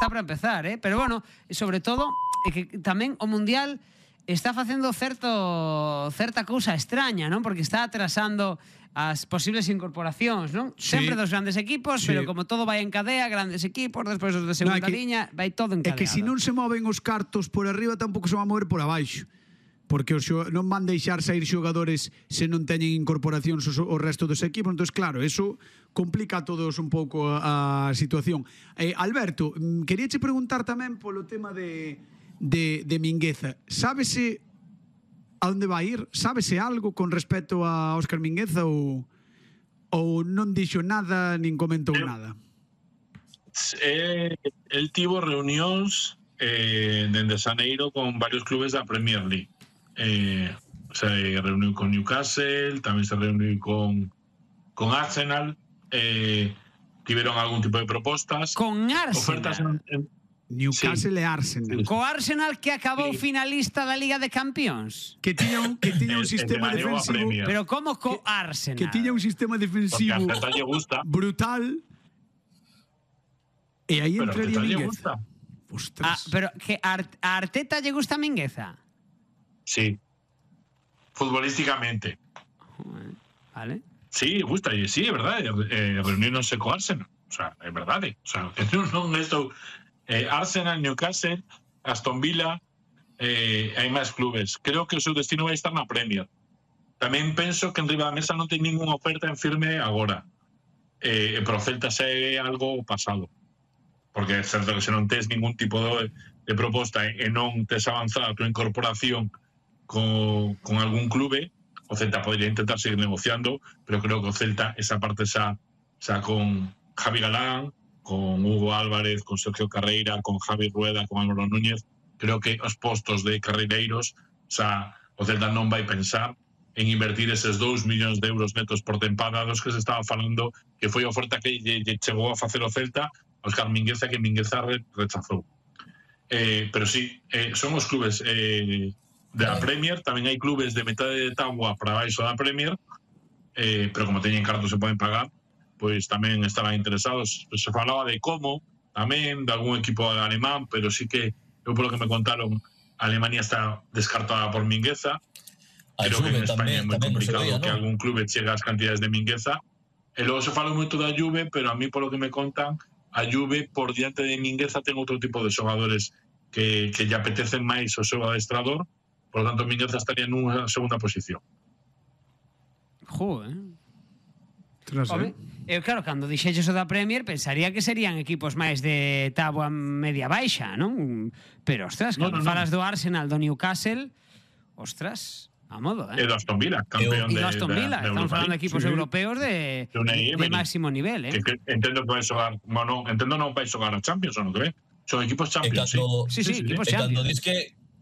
está para empezar, pero bueno, sobre todo é que tamén o Mundial está facendo certa cousa extraña, non? Porque está atrasando as posibles incorporacións, non? Sí. Sempre dos grandes equipos, Sí. pero como todo vai en cadea, grandes equipos, despois os de segunda liña, vai todo encadeado. É que se non se moven os cartos por arriba, tampouco se van a mover por abaixo. Porque non van deixar sair xogadores se non teñen incorporacións o resto dos equipos. Entón, claro, eso complica a todos un pouco a situación. Alberto, queríache preguntar tamén polo tema de Mingueza. Sábese a onde vai ir? Sábese algo con respecto a Óscar Mingueza ou non dixo nada nin comentou nada? El tivo reunións dende Xaneiro con varios clubes da Premier League. Se reuniu con Newcastle, tamén se reuniu con Arsenal, tiveron algún tipo de propostas. Con Arsenal? Newcastle e Arsenal. Co Arsenal que acabou finalista da Liga de Campións. Que tiña un sistema defensivo. Pero como co Arsenal? Que tiña un sistema defensivo brutal. E aí entraría Mingueza. Ostras. Pero que a Arteta lle gusta Mingueza? Sí. Futbolísticamente. Vale. Sí, gusta, sí, é verdade. Reunirnos co Arsenal. O sea, é verdade. O sea, non estou... Arsenal, Newcastle, Aston Villa, hai máis clubes. Creo que o seu destino vai estar na Premier. Tamén penso que en riba da mesa non ten ninguna oferta en firme agora. Pero o Celta xa é algo pasado. Porque é certo que se non tes ningún tipo de proposta e non tes avanzado a tua incorporación con algún clube, o Celta podría intentar seguir negociando, pero creo que o Celta esa parte xa con Javi Galán, con Hugo Álvarez, con Sergio Carreira, con Javi Rueda, con Álvaro Núñez, creo que os postos de carreireiros, o Celta non vai pensar en invertir eses 2 millóns de euros netos por tempada dos que se estaba falando, que foi a oferta que lle chegou a facer o Celta a Óscar Mingueza, que Mingueza rechazou. Pero sí, son os clubes da Premier, tamén hai clubes de metade de táboa para baixo da Premier, pero como teñen cartos se poden pagar, pois tamén estaban interesados. Se falaba de Como, tamén, de algún equipo alemán, pero sí que, eu polo que me contaron, Alemania está descartada por Mingueza. Creo que en España é moi complicado que algún clube chegue ás cantidades de Mingueza. E logo se fala moito da Juve, pero a mí, polo que me contan, a Juve, por diante de Mingueza, ten outro tipo de xogadores que lle apetecen máis o seu adestrador, por lo tanto, Mingueza estaría nunha segunda posición. Home, eu claro, cando dixeches o da Premier pensaría que serían equipos máis de táboa media baixa, non? Pero, ostras, cando falas do Arsenal, do Newcastle, ostras, a modo, E do Aston Villa, campeón de Aston Villa, estamos falando de equipos europeos de máximo nivel, que entendo que vai xogar, bueno, entendo non vai xogar a Champions, ou non que ve? Son equipos Champions, sí, equipos Champions.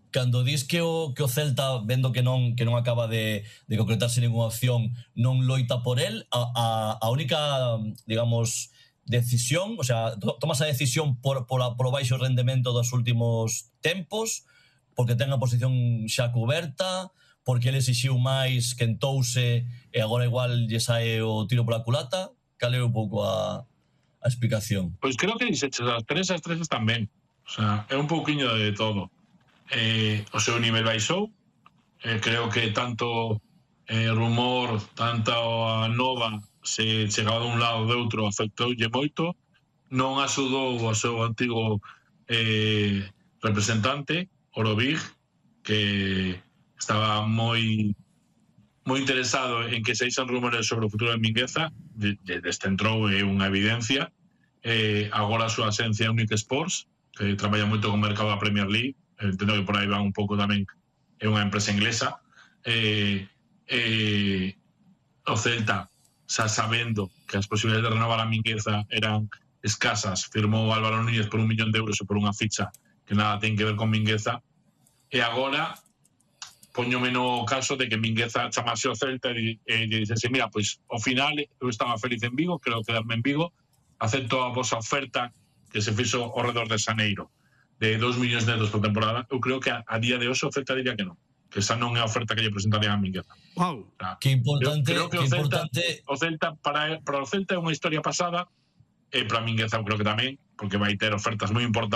Cando dis que o Celta, vendo que non acaba de concretarse ninguna opción, non loita por el, a única, digamos, decisión, o sea, tomas a decisión por o baixo rendemento dos últimos tempos, porque ten a posición xa cuberta, porque ele exixiu máis, quentouse e agora igual lle sae o tiro pola culata. Cal é un pouco a explicación? Pois creo que dixeches as tres están ben. O sea, é un pouquiño de todo. O seu nivel baixou, creo que tanto rumor, tanto a nova se chegaba de un lado ou de outro, afectoulle moito, non axudou ao seu antigo representante Orovig, que estaba moi interesado en que se eixan rumores sobre o futuro de Mingueza, descentrou unha evidencia. Agora a súa asencia é Unique Sports, que traballa moito con o mercado da Premier League, entendo que por aí va un pouco tamén, é unha empresa inglesa. O Celta, xa sabendo que as posibilidades de renovar a Mingueza eran escasas, firmou Álvaro Núñez por 1 millón de euros e por unha ficha que nada ten que ver con Mingueza, e agora poñome no caso de que Mingueza chamase ao Celta e dixese, mira, pois ao final eu estaba feliz en Vigo, quero quedarme en Vigo, acepto a vosa oferta que se fixo ao redor de Xaneiro de 2 millóns de euros por temporada. Eu creo que a día de hoxe o Celta diría que non, que esa non é a oferta que lle presentarían a Mingueza. Wow. O sea, que importante, creo que o Celta para o Celta é unha historia pasada, e para Mingueza eu creo que tamén, porque vai ter ofertas moi importantes